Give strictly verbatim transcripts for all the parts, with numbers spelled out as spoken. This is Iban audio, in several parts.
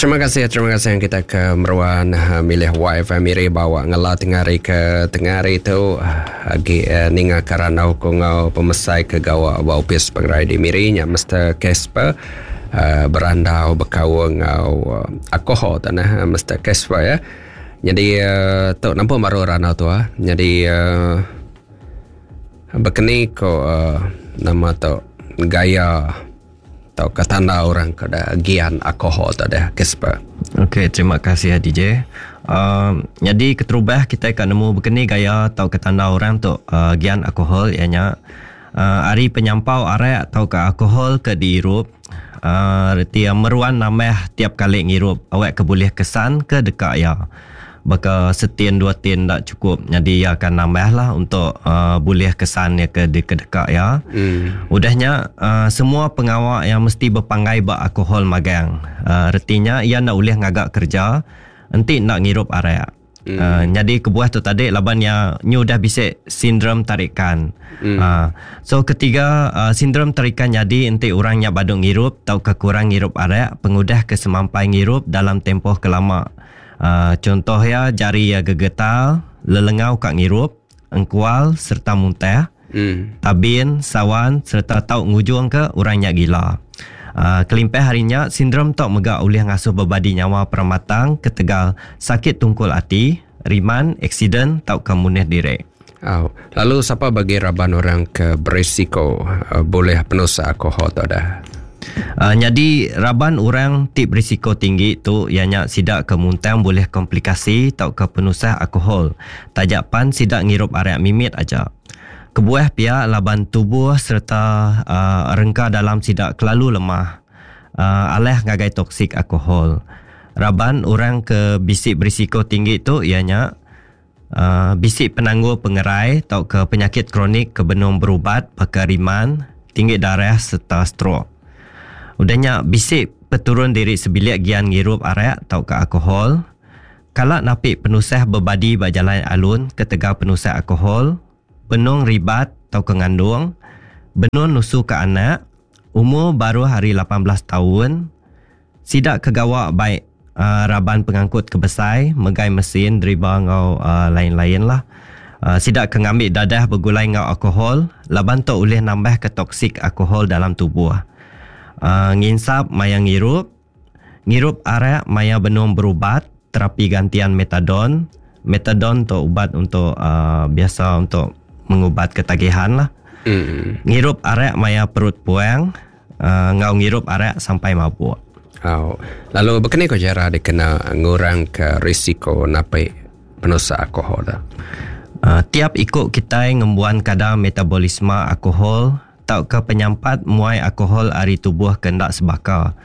Terima kasih, terima kasih yang kita ke meruan eh, milih Y F M Miri bawa ngela tengah hari ke tengah hari tu agi ninga karana ku ngau pemesai ke gawa ba opis pengerai di Miri nya Mister Casper uh, berandau bekaul ngau uh, alkohol tanah Mister Casper ya. Jadi uh, tu nampak baru randau tu ah. Jadi uh, bekeni ko uh, nama tu gaya atau ketanda orang ke dah gian alkohol tu dah Casper. Okey, terima kasih D J. Uh, jadi keterubah kita akan nemu bekeni gaya atau ketanda orang tu uh, gian alkohol ianya uh, ari penyampau arak atau ke alkohol ke diirup uh, reti meruan nambah tiap kali ngirup awak ke boleh kesan ke dekat ya. Baka setin dua tin tak cukup, jadi ia akan nambah lah untuk uh, boleh kesan ya ke dekat ya. Hmm. Udahnya uh, semua pengawak yang mesti berpanggai bak alkohol magang. Uh, retinya ia nak boleh ngagak kerja enti nak ngirup arak. Hmm. Uh, jadi kebuah tu tadi laban ya nyu dah bisik sindrom tarikan. Hmm. Uh, so ketiga uh, sindrom tarikan jadi enti orangnya badung ngirup atau kekurang ngirup arak pengudah kesemampai ngirup dalam tempoh kelama. Uh, contoh ya jari ya gegetal, lelengau kat ngirup, engkual serta muntah, mm. tabin, sawan serta tau ngujung ke orangnya gila. Uh, kelimpah harinya sindrom tok megak ulih ngasuh berbadi nyawa peramatang ketegal sakit tungkul ati, riman, aksiden tau kemuneh direk. Oh, lalu siapa bagi raban orang ke berisiko uh, boleh penusa alkohol tu dah? Uh, jadi raban orang tip risiko tinggi tu ianya sidak ke muntang boleh komplikasi tau ke penusah alkohol. Tajak pan sidak ngirup arak mimit aja. Kebuah pihak laban tubuh serta uh, rengka dalam sidak kelalu lemah. Uh, aleh ngagai toksik alkohol. Raban orang ke bisik berisiko tinggi tu ianya uh, bisik penangguh pengerai tau ke penyakit kronik ke benung berubat pakai riman, tinggi darah serta stroke. Udahnya bisik peturun diri sebilik gian ngirup arak atau ke alkohol. Kalak napik penusah berbadi berjalan alun ketegal penusah alkohol, benung ribat atau ke ngandung, benung nusu ke anak, umur baru hari lapan belas tahun, sidak kegawak baik uh, raban pengangkut kebesai, megai mesin, deriba ngau uh, lain-lain lah. Uh, sidak ke ngambil dadah bergulai ngau alkohol, laban tu boleh nambah ke toksik alkohol dalam tubuh. Uh, nginsap maya ngirup, ngirup arak maya benung berubat, terapi gantian metadon. Metadon tu ubat untuk uh, biasa untuk mengubat ketagihan lah. Mm. Ngirup arak maya perut puang, uh, ngau ngirup arak sampai mabuk. Oh. Lalu berkena ko cara dikena ngurang ke risiko napai penusa alkohol dah? Uh, tiap ikut kita ngembuan kadar metabolisme alkohol tau ke penyampat muai alkohol ari tubuh kendak sebaka.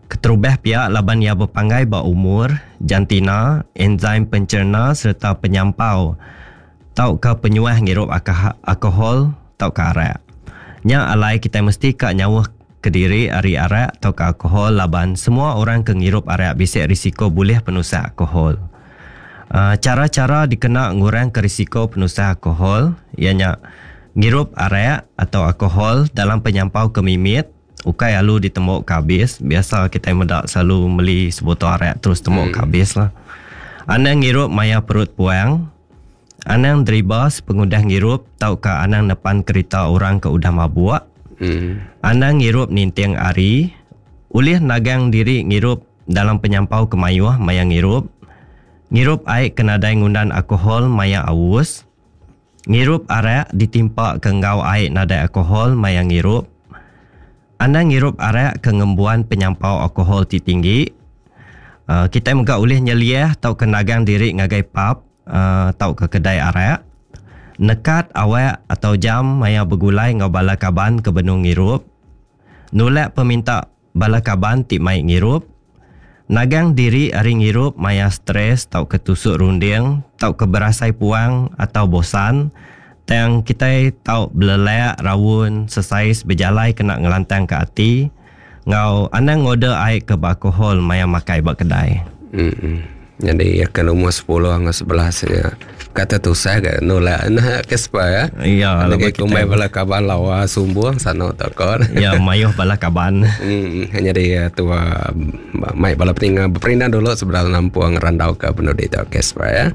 Keterubah pihak laban ia berpanggai ba umur, jantina, enzim pencerna serta penyampau tau ke penyuah ngirup alkohol tau ke arak. Nya alai kita mesti ka nyauh kediri ari arak tau ke alkohol laban semua orang ke ngirup arak bisik risiko boleh penusah alkohol. Uh, cara-cara dikena ngurang ke risiko penusah alkohol ianya ngirup arak atau alkohol dalam penyampau kemimit, ukai alu ditemuk kabis. Biasa kita medak selalu beli sebotol arak terus temuk hmm. kabis lah. Anang ngirup maya perut puang, anang deriba sepengudah ngirup tau ke anang nepan kereta orang ke udah mabuk. Hmm. Anang ngirup ninting ari, ulih nagang diri ngirup dalam penyampau kemayuh maya ngirup. Ngirup air kenadai ngundan alkohol maya awus. Ngirup arak ditimpa ke ngau air nadai alkohol maya ngirup. Anda ngirup arak ke ngembuan penyampau alkohol ti tinggi. Uh, kita mega ulih nyeliah tau ke nagang diri ngagai pub uh, tau ke kedai arak. Nekat awak atau jam maya bergulai ngau bala kaban ke benung ngirup. Nulak peminta bala kaban ti mai ngirup. Nagang diri ari ngirup maya stres tau ke tusuk runding, tau ke berasai puang atau bosan. Tang kita tau belelak, rawun, sesais berjalai kena ngelantang ke ati. Ngau anang ngorder air ke alkohol maya makai bak kedai. Hmm. Jadi ke umur sepuluh dengan sebelas ya. Kata tusah ke nolak nah ke sepa ya. Ya, lagi kumai bala kaban lawa sumbung sana takon. Ya, mayuh bala kaban. Hmm, jadi tua mai bala peninga berperindang dulu sebelum nampung randau ke penudi tu ke sepa ya.